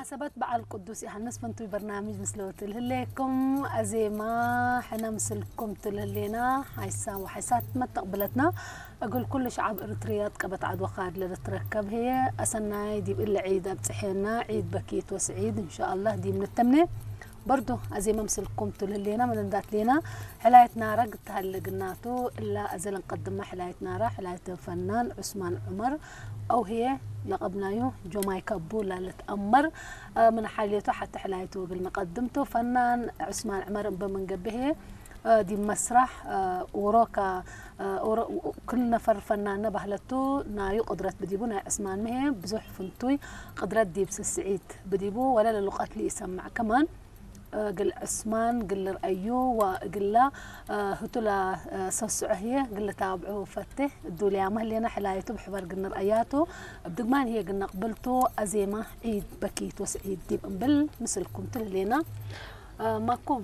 ሰበት በዓል ቅዱስ ዮሃንስ ፍንቱይ በርናምጅ ምስለወ ትልህሌኩም። ኣዜማ ሕነ ምስልኩም ትልህሌና። ሓይሳ ወሓይሳት መተቕብለትና። እግል ኩሉ ሸዓብ እርትርያ ጥቀበት ዓድወ ካድ ለልትረከብ ህየ። ኣሰናይ ዲብ እለ ዒድ ኣብጽሔና። ዒድ በኪት ወስዒድ እንሻኣላህ ዲብ ንተምኔ። በርዱ ኣዜማ ምስልኩም ትልህሌና። መለንዳት ሌና። ሕላየት ናራ ግትሃለ ግናቱ እላ ኣዘለን ቀድማ ሕላየት ናራ። ሕላየት ፈናን ዑስማን ዑመር። أو هي لقبنايو جومايكا بولا لتأمر. من حاليته حتى حلايته بالمقدمته فنان عثمان عمر بمن قبهه. دي مسرح وروكا. كل نفر فنان نبهلته نايو قدرت بديبو ناي عثمان مهي بزح فنتوي قدرت ديب سسعيد بديبو ولا للقات لي يسمع كمان. እግል ዕስማን እግል ርአዩ ወእግላ ህቱላ ሰስዖ ህየ እግል ታብዑ ፈቴ እዱልያ መህሌና ሕላየቱ ብሕበር ግንር ኣያቱ እብ ድግማን ህየ ግነቅብልቱ ኣዜማ ዒድ በኪት ወስዒድ ዲብ እምብል ምስልኩም ትልሌና ማኩም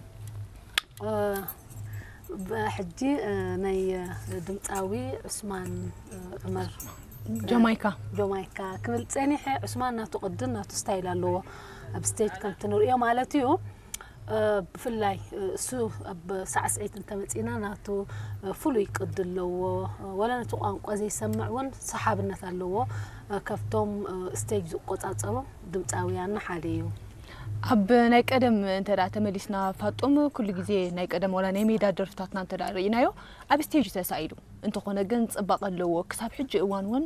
ሕጂ ናይ ድምፃዊ ዑስማን ዑመር ጀማይካ ጆማይካ ክብል ጸኒሐ። ዑስማን ናቱ ቅድን ናቱ ስታይል ኣለዎ ኣብ ስቴጅ ከምቲ ንርእዮ ማለት እዩ። ብፍላይ እሱ ኣብ ሳዕስዒት እንተመጺና ናቱ ፍሉይ ቅዲ ኣለዎ። ወላ ነቲ ቋንቋ ዘይሰምዕ እውን ሰሓብነት ኣለዎ። ካብቶም ስቴጅ ዝቆጻጸሩ ድምፃውያንና ሓደ እዩ። ኣብ ናይ ቀደም እንተ ተመሊስና ፋጡም ኩሉ ግዜ ናይ ቀደም ዋላ ናይ ሜዳ ደርፍታትና እንተ ርኢናዮ ኣብ ስቴጅ ተሳኢዱ እንተኾነ ግን ፅባቐ ኣለዎ። ክሳብ ሕጂ እዋን እውን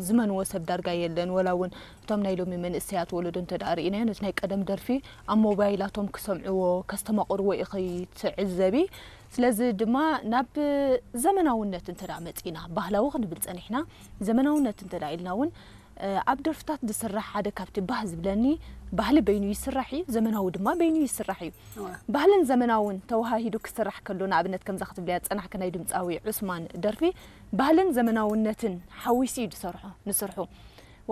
ዝመንዎ ሰብ ዳርጋ የለን። ወላ እውን እቶም ናይ ሎሚ መንእሰያት ወለዶ እንተ ርኢናዮ ነቲ ናይ ቀደም ደርፊ ኣብ ሞባይላቶም ክሰምዕዎ ከስተማቕርዎ ኢኺ ትዕዘቢ። ስለዚ ድማ ናብ ዘመናውነት እንተ መፂና ባህላዊ ክንብል ፀኒሕና ዘመናውነት እንተ ኢልና እውን ኣብ ደርፍታት ዝስራሕ ሓደ ካብቲ ባህ ዝብለኒ ባህሊ በይኑ ይስራሕ እዩ፣ ዘመናዊ ድማ በይኑ ይስራሕ እዩ። ባህልን ዘመናውን ተወሃሂዱ ክስራሕ ከሎ ንኣብነት ከምዛ ክትብልያ ዝጸናሕኪ ናይ ድምጻዊ ዑስማን ደርፊ ባህልን ዘመናውነትን ሓዊሱ እዩ ዝሰርሖ ንስርሑ።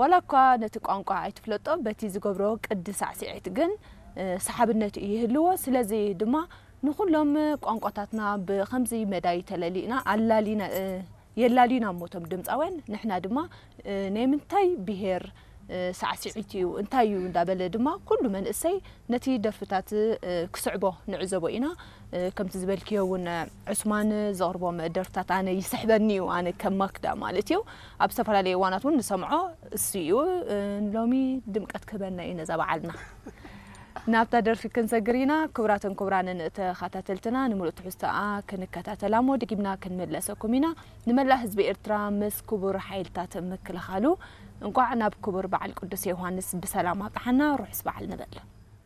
ዋላ እኳ ነቲ ቋንቋ ኣይትፍለጦ በቲ ዝገብሮ ቅዲ ሳዕስዒት ግን ሰሓብነት እዩ ይህልዎ። ስለዚ ድማ ንኹሎም ቋንቋታትና ብኸምዚ መዳይ ተለሊእና ኣላሊና የላልዩና እሞ እቶም ድምፃውያን ንሕና ድማ ናይ ምንታይ ብሄር ሳዕስዒት እዩ እንታይ እዩ እንዳበለ ድማ ኩሉ መንእሰይ ነቲ ደርፍታት ክስዕቦ ንዕዘቦ ኢና። ከምቲ ዝበልክዮ እውን ዑስማን ዘቕርቦም ደርፍታት ኣነ ይስሕበኒ እዩ ኣነ ከም ማክዳ ማለት እዩ። ኣብ ዝተፈላለዩ እዋናት እውን ንሰምዖ እሱ እዩ። ሎሚ ድምቀት ክህበና እዩ ነዛ በዓልና። ናብታ ደርፊ ክንሰግር ኢና። ክቡራትን ክቡራንን ተኸታተልትና ንምሉእ ትሕዝቶኣ ክንከታተላ እሞ ድጊምና ክንምለሰኩም ኢና። ንመላእ ህዝቢ ኤርትራ ምስ ክቡር ሓይልታት ምክልኻሉ እንቋዕ ናብ ክቡር በዓል ቅዱስ ዮሃንስ ብሰላም ኣብጽሓና። ርሑስ በዓል ንብል።